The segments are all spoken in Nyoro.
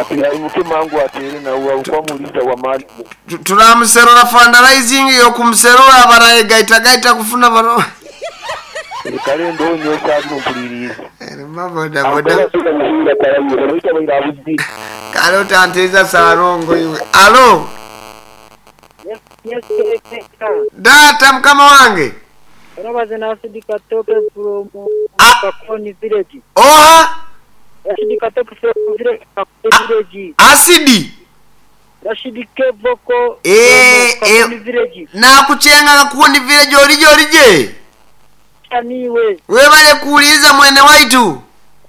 Ati aimuke mangu atere nawe akwamuliza wa mali. Turamuserura fundraising yokumuserura barayegaitagaita kufuna baro. Kale ndonyo sabi mpuliriza. Erima boda boda. Kale otanteza sarongo iwe. Alo. Yes, Data mkama wange. Robaze na Asidi Katoke from Ah. Kakoni village. Oha Rashidi Katoke from village Kakoni village. asidi. Rashidi Kevoko Eh, from Kakoni eh. village. Nakuchenga kakundi village olije olije. Aniwe. Webale kuuliza mwene waitu.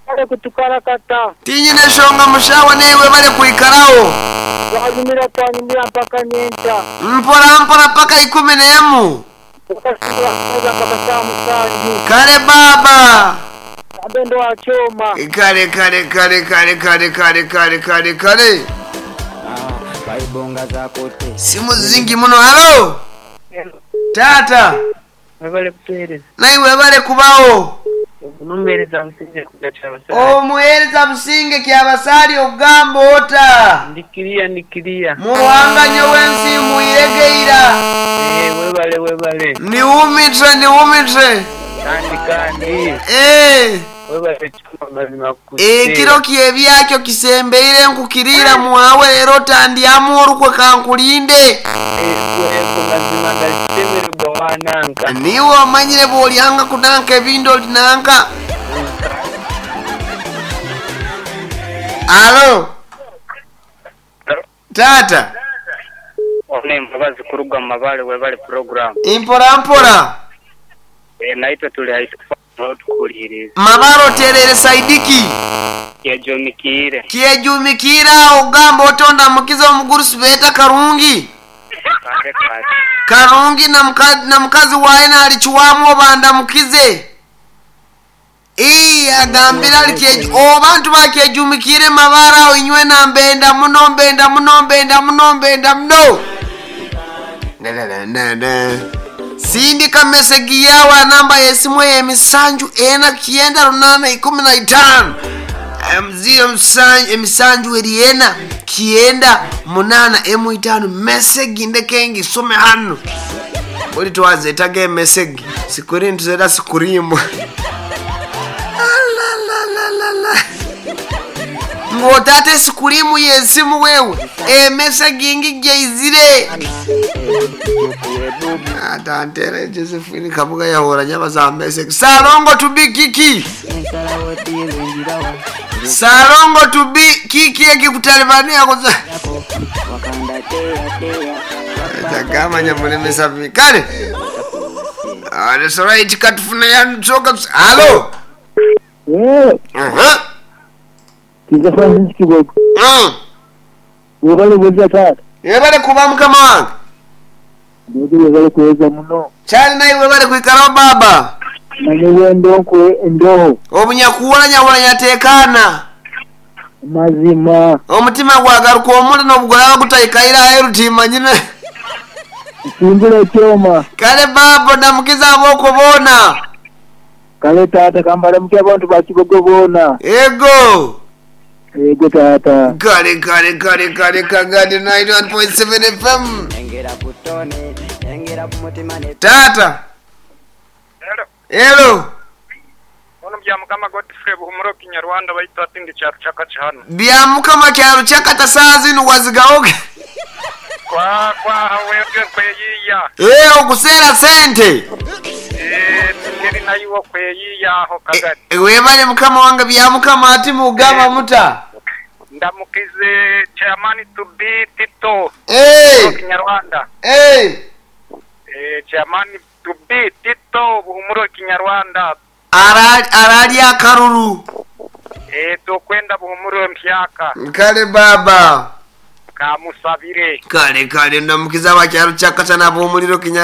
Kale kutukarakata. Tinyine shonga mushawa naye webale kuikarawo. Twanyumira twanyumira mpaka nyencha. Mpora mpora paka 11. Tukasubira kuza mpaka saa 7. Kale baba. Abendo wa choma. Kale kale kale kale kale kale kale kale kale. Baibonga zakote. Simu zingi muno. Halo. Tata. Webale kutuhereza. Naye webale kubawo. Omuhereza Businge kugacha abasali. Omuhereza Businge kyabasali ogamba ota. Ndikiriya ndikiriya. Muruhanga nyowe muiregeira. Eh, webale webale. Niwumitre niwumitre. Kandi kandi. Eh. Webale choma mazima Ekiro kyebyakyo kisembeire nkukirira mwawe leero tandyamu olukwe kankulinde. Ego mazima ndasemererwa wananka. Niwe omanyire bw'olyanga kunanka ebindi olinanka. Alo. Tata. One mbabazi kuruga mu mabale webale program. Mpora mpora. Naitwe tuli haitukufa tukuliriza. Mabaro terere saidiki. Kyejumikiire. Kyejumikira ogamba otonda mukiza omugurusi beeta Karungi. Kale kale. Karungi na mukazi waye nalikiwamu obanda mukize. Ii agambira ali obantu bakyejumikire mabara awo inywe na mbenda muno mbenda muno mbenda muno mbenda muno. Na. Sindika mesegi yawa namba yesimu ye 7 4 9 8 15. Mzio emisanju eri 4 9 8 emu 5 mesegi ndekengi some hano. Buli twazetaga emesegi sikuri ntuzera sikurimu. Alalalalala. Ng'otaata esikurimu y'esimu wewe emesegi ngi gyeizire. Atantere Josephine Kabuga yahora nyabaza mesegi. Salongo to be kiki. Salongo to be kiki ekikutalibania kuza. Tagama nyamulemesa vi. Kale. That's right katufuna yansoka. Halo. Aha. Kiza Francis Kigogo. Webale bweza tata. Webale kuba mukama wange. Ndio webale kuweza muno. Kyali naye webale kuikarawo baba. Nanyewe ndonkwe ndoho. Obunyakuwulanya wulanya Mazima. Omutima gwagaruka omuli n'obugolaba gutayikaira aheru timanyire. Simbula choma. Kale baba ndamukiza aboko boona. Kale tata kambala muke abantu ba Kigogo boona. Ego. Ego tata. Kale kale kale kale kagadi 91.7 FM. Engera kutone, engera kumutima ne. Tata. Hello. Hello. Ono bya mukama Godfrey Buhumuro Kinyarwanda baita atindi cyaru chakachi hano. Bya mukama cyaru chakata saa zino wazigaoge. Kwa kwa wewe kweyiya. Okusera sente. Ngeri nayo kweyiya aho kagati. Webale mukama wange bya mukama ati mugamba muta. Ndamukize chairman to be Tito. Kinyarwanda. Chairman to be Tito Buhumuro Kinyarwanda. Arali akaruru. Tokwenda Buhumuro mpyaka. Kale baba. Kamusabire. Kale kale ndamukiza abakyaru chakata na Buhumuriro Kinyarwanda.